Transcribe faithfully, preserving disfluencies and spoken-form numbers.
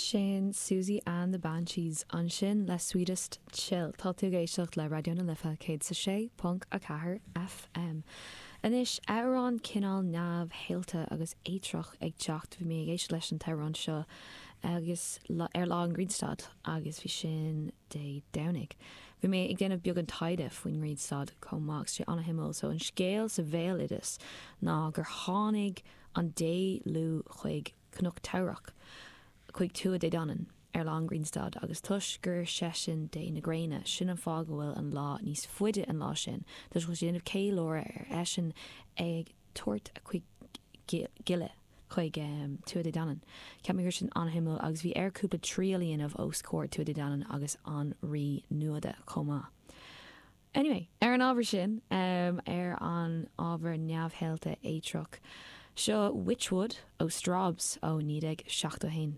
Sin Siouxsie and the Banshees ansin le Sweetest Chill tá tú ag éisteacht le Raidió na Life céad sa sé ponc a ceathair FM. Anois amhrán cineál neamhshaolta agus eitreach ag teacht bhí mé ag éisteacht leis an t-amhrán seo agus ar lá an Ghrianstad agus bhí sin Dé Domhnaigh. Bhí mé ag déanamh beagán taighde faoin nGrianstad chomh maith sé an-shuimiúil so an scéal sa bhéaloideas ná gur tháinig an dé Lugh chuig Cnoc Teamhrach. chuig Tuatha Dé Danann ar lá an Ghrianstad agus toisc gur seisean dé na gréine sin an fáth go bhfuil an lá níos faide an lá sin, Tá sé déanamh ceiliúradh ar eisean ag tabhairt a chuid gile chuig um, Tuatha Dé Danann. Ceap mé gur sin an-shuimiúil agus bhí air cúpla triail a dhéanamh os comhair Tuatha Dé Danann agus an rí Nuada chomh maith. Anyway, ar an ábhar sin um, ar an ábhar neamhshaolta eitreach. Seo Witchwood ó Strawbs ó naoi déag seachtó haon.